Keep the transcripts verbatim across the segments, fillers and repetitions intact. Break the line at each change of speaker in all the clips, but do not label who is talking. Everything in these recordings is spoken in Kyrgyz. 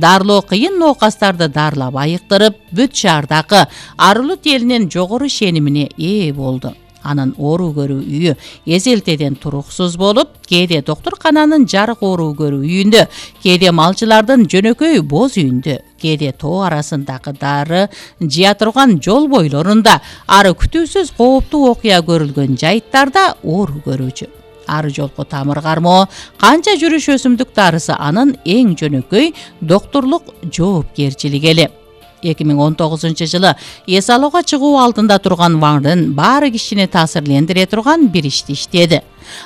дарылоо кыйын ноокастарды дарылап айыктырып, бүт шаардагы арулут элинин жогору шенимине ээ болду. Анын оору көрүү үйү эзелтеден туруксуз болуп, кээде доктуркананын жарык оору көрүү үйүндө, кээде малчылардын жөнөкөй боз үйүндө, кээде тоо арасындагы дары жыя турган жол бойлорунда, ары күтүүсүз кооптуу окуя көрүлгөн жайыттарда оору көрүүчү. Ары жолку тамыр кармоо, канча жүрүш өсүмдүк дарысы анын эң жөнөкөй доктурлук жоопкерчилиги эле. эки миң он тогузунчу жылы эс алууга чыгуу алдында турган Ваңдын баары кишини таасирлендире турган бир ишти иштеди.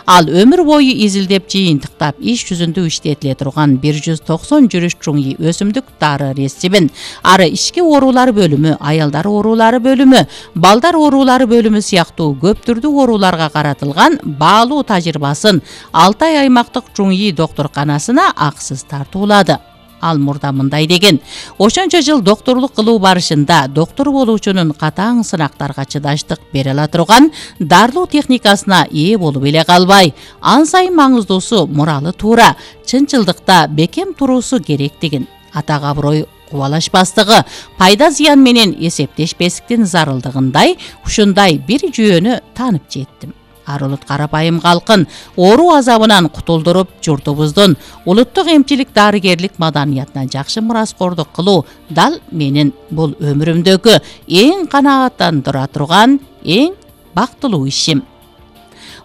Ал өмүр бою изилдеп жыйынтыктап иш жүзүндө иштетиле турган бир жүз токсон жүрүш чуңи өсүмдүк дары рецептин ары ички оорулар бөлүмү, аялдар оорулары бөлүмү, балдар оорулары бөлүмү сыяктуу көп түрдүү ооруларга каратылган баалуу тажрыйбасын Алтай аймактык чуңи доктурканасына аксыз тартуулады. Ал мурда мындай деген: ошончо жыл доктурлук кылуу барышында доктур болуучунун катаң сынактарга чыдаштык бере ала турган дарылоо техникасына ээ болуп эле калбай, ан сайын маңыздуусу муралы туура, чынчылдыкта бекем туруусу керектигин, атак аброй кубалашпастыгы, пайда зыян менен эсептешпестиктин зарылдыгындай ушундай бир жүйөнү таанып жеттим. Арулут карапайым калкын оору азабынан кутулдуруп, журтубуздун улуттук эмчилик дарыгерлик маданиятына жакшы мураскордук кылуу дал менин бул өмүрүмдөгү эң канааттандыра турган, эң бактылуу ишим.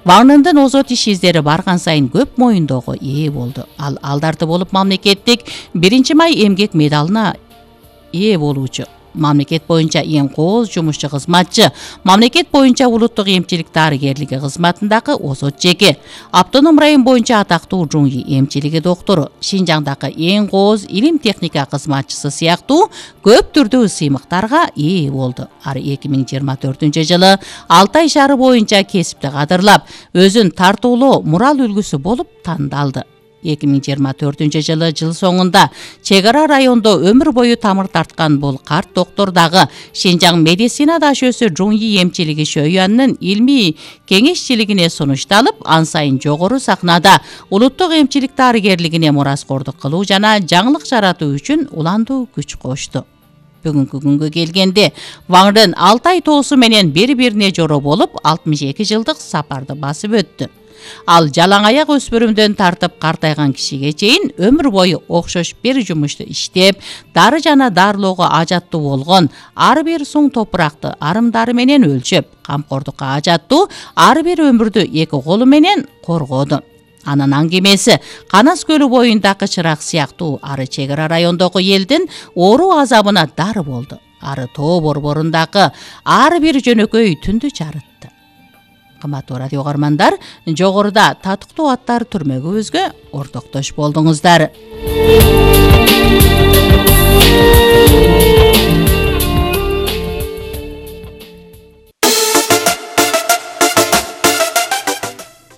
Ваңдын озот иш издери барган сайын көп моюндоого ээ болду. Ал алдарды болуп мамлекеттик биринчи май эмгек медалына ээ болуучу, мамлекет боюнча эң кооз жумушчу кызматчы, мамлекет боюнча улуттук эмчилик дарыгерлиги кызматындагы озот жеке, автоном район боюнча атактуу жуңи эмчилиги доктору, Шинжаңдагы эң кооз илим техника кызматчысы сыяктуу көп түрдүү сыймыктарга ээ болду. Ары эки миң жыйырма төртүнчү жылы Алтай шаары боюнча кесипти кадырлап, өзүн тартуулоо мурал үлгүсү болуп тандалды. эки миң жыйырма төртүнчү жылы жыл соңунда чек ара райондо өмүр бою тамыр тарткан бул карт доктор дагы Шинжаң медицина дашөөсү жуңи эмчилиги шөйянынын илмий кеңешчилигине сунушталып, ан сайын жогору сахнада улуттук эмчилик дарыгерлигине мураскордук кылуу жана жаңылык жаратуу үчүн уландуу күч кошту. Бүгүнкү күнгө келгенде Ваңдын Алтай тоосу менен бири-бирине жоро болуп, алтымыш эки жылдык сапарды басып өттү. Ал жалаң аяк өспүрүмдөн тартып картайган кишиге чейин өмүр бою окшош бир жумушту иштеп, дары жана дарылоого ажаттуу болгон ар бир суң топуракты арымдары менен өлчөп, камкордукка ажаттуу ар бир өмүрдү эки колу менен коргоду. Анын аңгемеси Канас көлү боюндагы чырак сыяктуу ары чек ара райондогу элдин оору азабына дары болду. Ары тоо борборундагы ар бир жөнөкөй түндү жарытты. Кымбаттуу радио угармандар, жогоруда татыктуу аттар түрмөгүбүзгө ортоктош болдуңуздар.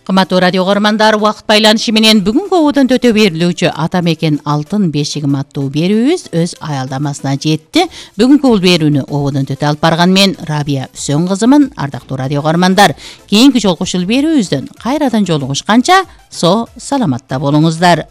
Кымбаттуу радио угармандар, убакыт байланышы менен бүгүнкү ободон төтө берилүүчү Ата мекен алтын бешигим аттуу берүүбүз өз аялдамасына жетти. Бүгүнкү бул берүүнү ободон төтө алып барган мен Рабия Үсөн кызымын. Ардактуу радио угармандар, кийинки жолку ушул берүүбүздөн кайрадан жолугушканча со саламатта болуңуздар.